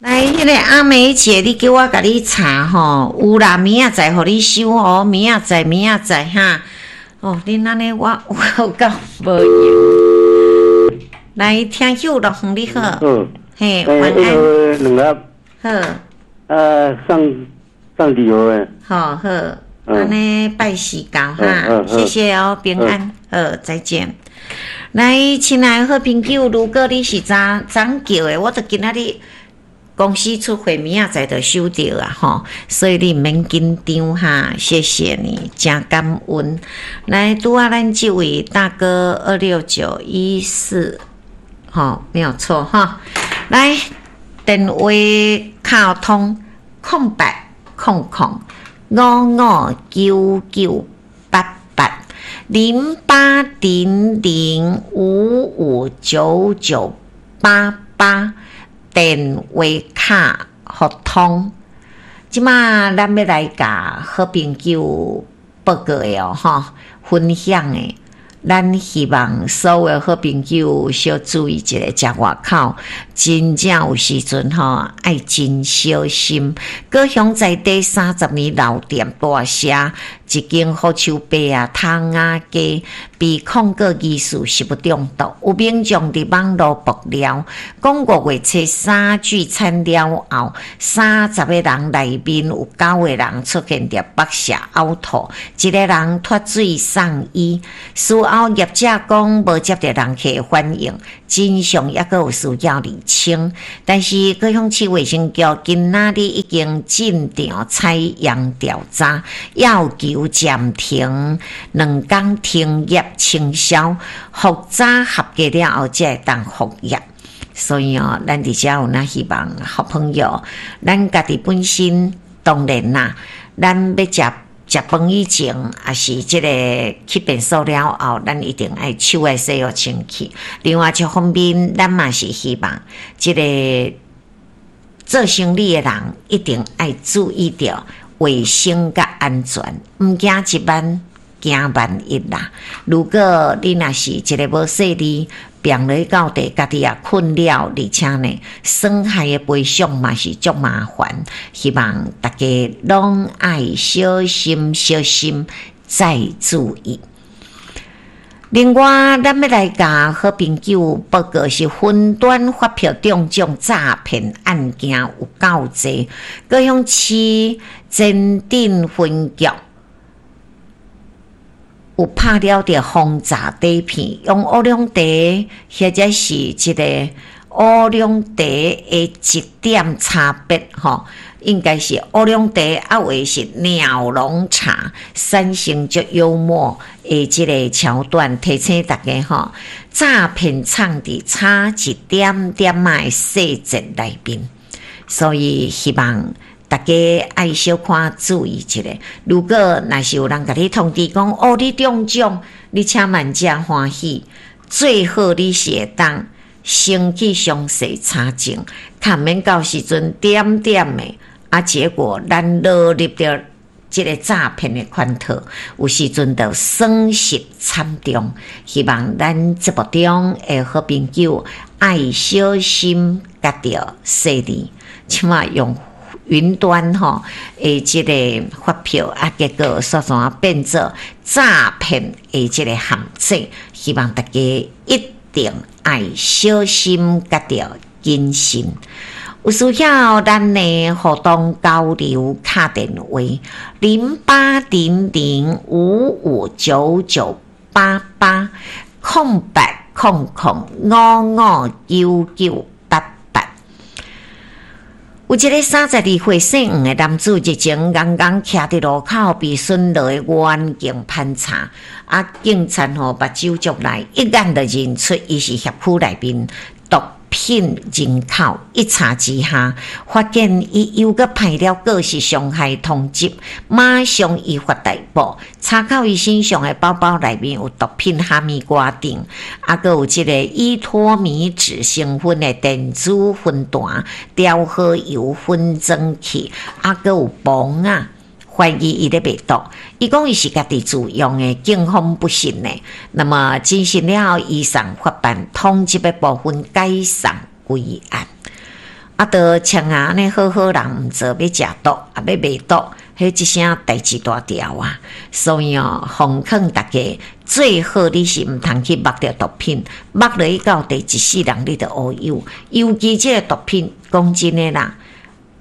來，彼个阿梅姐，你叫我共你查吼，有啦，明仔載予你收哦，明仔載，明仔載哈。哦，恁按呢，我有夠無閒。來，聽友樂園你好。嗯。嘿，晚安。兩盒。好。啊，送送禮盒的。好好，按呢拜四到哈，謝謝哦，平安，好，再見。來，親愛的好朋友，如果你是早早叫的，我著今仔日公司出貨，明仔載就收著啊吼，所以你毋免緊張哈，謝謝你，誠感恩。來，拄仔咱這位大哥26914，吼，沒有錯哈。來，電話敲通0800559988 0800559988。電話卡互通，這馬咱欲來共好朋友報告的哦，吼，分享的。咱希望所有好朋友小注意一下，食外口真正有時陣吼，愛真小心。高雄在地30年老店大社，一間福壽伯仔窗仔雞被控告疑似食物中毒，有民眾佇網路爆料，講5月初三聚餐了後，30個人內面有九個人出現著腹瀉嘔吐，一個人脫水送醫。事後業者講無接著人客反應，真相猶閣有需要釐清。但是高雄市衛生局今仔日已經進場採樣調查，要求暫停2工停業清消，復查合格了後才會當復業。所以哦，咱佇遮有哪希望好朋友，咱家己本身當然啦，咱欲食食飯以前，抑是這個去便所了後，咱一定愛手愛洗予清氣。另外一方面，咱嘛是希望這個做生理的人一定愛注意著衛生佮安全，毋驚一萬，驚萬一啦。如果你若是一个無細膩，病落到地，家己也困了，而且呢，損害的賠償嘛是足麻煩。希望大家攏愛小心、小心，再注意。另外，咱欲來共好朋友報告是雲端發票中獎詐騙案件有夠濟，高雄市前鎮分局有拍著防詐底片，用烏龍茶或者是這个烏龍茶的一點差別吼，應該是烏龍茶，抑或是鳥籠茶，產生足幽默的這个橋段，提醒大家吼，詐騙藏佇差一點點仔的細節內面，所以希望大家愛小可注意一下。如果若是有人共你通知講，哦，你中獎，你請萬正歡喜，最好你是會當先去詳細查證，較毋免到時陣點點的，啊，結果咱落入著這个詐騙的圈套，有時陣就損失慘重。希望咱節目中的好朋友愛小心，佮著細膩，這馬用雲端吼的這个發票啊，結果煞怎變做詐騙的這个陷阱？希望大家一定愛小心，佮著謹慎。有需要咱的互動交流敲電話08005599880800559988。有一个32歲姓黃的男子，日前剛剛徛佇路口被巡邏的員警盤查，啊，警察吼目睭足利，一眼就認出伊是協區內面毒品人口，一查之下，發現伊又閣派了過失傷害通緝，馬上依法逮捕。查扣伊身上的包包內面有毒品哈密瓜酊，啊，閣有這个依托咪酯成分的電子分彈、調和油分裝器，啊，閣有磅仔。懷疑伊咧賣毒，伊講伊是家己自用的，警方不信呢。那麼偵訊了後，移送法辦通緝的部分解送歸案。啊，著像按呢好好人毋做，欲食毒，啊欲賣毒，彼一聲代誌大條啊！所以哦，奉勸大家，最好你是毋通去目著毒品，目落去到第一世人你就烏有。尤其這个毒品，講真的啦，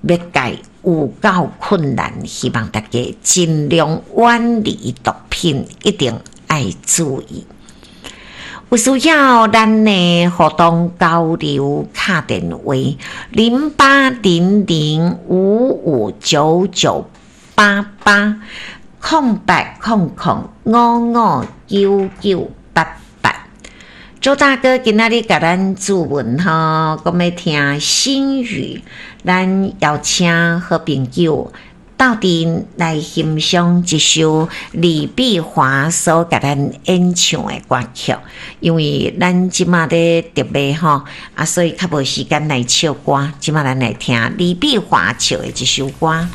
欲戒有夠困難，希望大家盡量遠離毒品，一定愛注意。有需要咱的活動交流敲電話08005599880800559988。周大哥今仔日共咱注文吼，講欲聽心語，咱邀請好朋友鬥陣來欣賞這首李碧華所共咱演唱的歌曲，因為咱這馬咧特賣吼，啊，所以較無時間來唱歌。這馬咱來聽李碧華唱的這首歌。